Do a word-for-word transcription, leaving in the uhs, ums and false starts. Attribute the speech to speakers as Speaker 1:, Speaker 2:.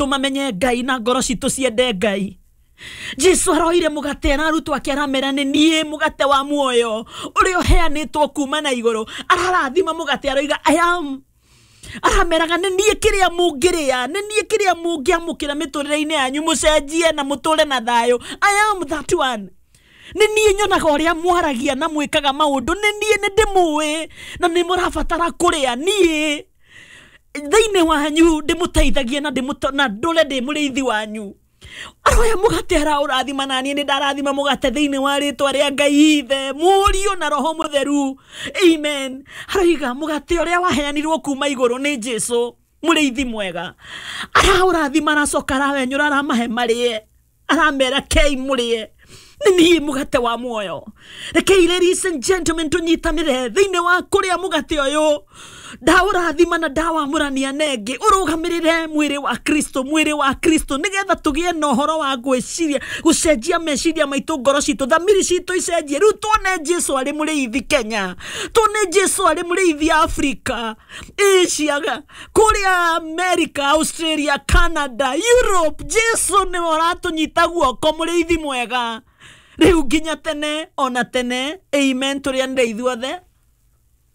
Speaker 1: maitũ mamenye Ngai na ngoro citũ ciende Ngai. Jesu aroire mũgate na arutwo ake aramera nĩ niĩ mũgate wa muoyo ũrĩa ũheanĩtwo kuma na igũrũ. Ararathima mũgate aroiga I am, arameraga nĩ niĩ kĩrĩa mũngĩrĩa, nĩ niĩ kĩrĩa mũngĩamũkĩra mĩtũrĩre-inĩ yanyu mũcenjie na mũtũre na thayũ. I am that one. Nĩ niĩ nyonaga ũrĩa mwaragia na mwĩkaga maũndũ, nĩ niĩ nĩ ndĩmũĩ na nĩ mũrabatara kũrĩa niĩ thĩinĩ wanyu ndĩmũteithagie na ndĩmũto- na ndũre ndĩ mũrĩithi wanyu. Aroya mũgate araũrathima na niĩ nĩ ndarathima mũgate thĩinĩ wa rĩtwa rĩa Ngai Ithe, Mũriũ na Roho Mũtheru. Amen. Aroiga mũgate ũrĩa waheanirwo kuma igũrũ nĩ Jesu mũrĩithi mwega. Araũrathima aracoka arawenyũra aramahe marĩe, aramera kei mũrĩe, nĩ niĩ mũgate wa muoyo. Rekei ladies and gentlemen tũnyitanĩre thĩinĩ wa kũrĩa mũgate ũyũ. Ndaũrathima na ndawamũrania nengĩ ũrũgamĩrĩre mwĩrĩ wa Kristo, mwĩrĩ wa Kristo, nĩgetha tũgĩe na ũhoro wa gwĩciria, gũcenjia meciria maitũ, ngoro citũ, thamiri citũ icenjie. Rĩu tuone Jesu arĩ mũrĩithi Kenya, tuone Jesu arĩ mũrĩithi Africa, Asia, kũrĩa America, Australia, Canada, Europe. Jesu nĩwe ũratũnyita guoko, mũrĩithi mwega rĩu nginya tene ona tene. Amen. Tũrĩanĩre ithuothe.